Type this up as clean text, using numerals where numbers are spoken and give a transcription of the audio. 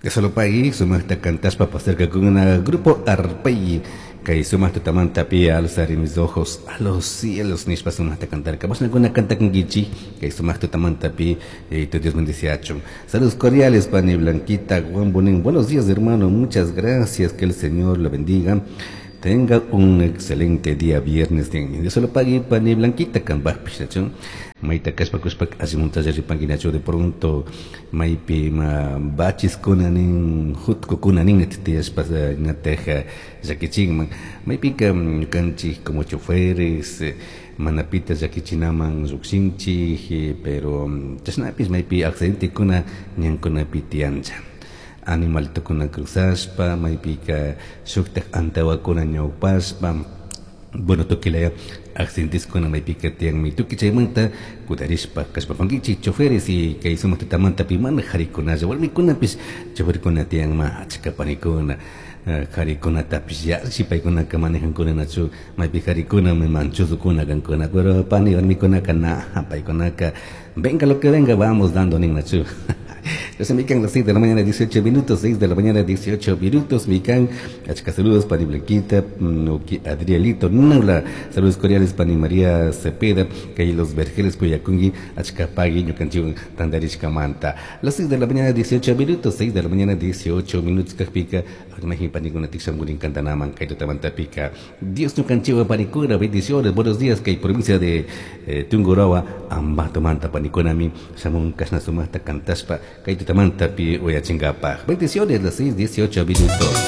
Dios sumaqta cantashpa pasarkakuna Grupo Arpey kay sumaq tutamanta pi "Alzaré mis ojos a los cielos" nishpa sumaqta cantarka. Mashnakuna cantakunkichik kay sumaq tutamanta pi? Tu Dios bendiciachun. Saludos cordiales, pani Blanquita Juan Bonín. Buenos días, hermano, muchas gracias, que el Señor lo bendiga. Tenga un excelente día viernes. Dios lo pague, pani Blanquita, kambajpish, nachu? Maita kashpa kushpa allimuntalla ripanki, nachu? De pronto maypi ima bachiskuna nin, jutkukuna nin tiyashpa ñataj llakichinman. Maypika ñukanchik como choferes mana pita llakichinaman llukshinchik, pero chashnapish maypi accidentekuna ñankunapi tiyancha, animaltukuna cruzashpa, maypika shuktak antawakuna ñawpashpa, bueno, tukilaya accidenteskuna maypika tiyanmi. Tukuy chaymanta cuidarishpa kashpapankichik, choferes. Y kay sumaq tutamanta pi mana jarikunalla, warmikunapish choferkuna tiyanma, achka panikuna jarikunatapish yalli paykunaka manejankuna, nachu? Maypi jarikuna manchudukuna kankuna, pero pani warmikunaka na, paykunaka "venga lo que venga, vamos dando" nin, nachu? Entonces, mikan, las 6 de la mañana, 18 minutos, 6 de la mañana, 18 minutos, mikan, achka saludos, pani Blanquita, Adrielito, Nula, saludos cordiales, pani María Cepeda, kay Los Vergeles, Cuyakungi, achka pagui, ñukanchik tandarishkamanta. Las 6 de la mañana, 18 minutos, 6 de la mañana, 18 minutos, kakpika, imagín panikuna tikshamurin kantanaman, kay tutamantapika, Dios ñukanchik panikuna, bendiciones, buenos días, kay provincia de Tungurahua, Ambato manta panikunami, shamun kashna sumaqta kantashpa, kay tutamanta pi uyachingapaj. Bendiciones, las 6, 18 minutos.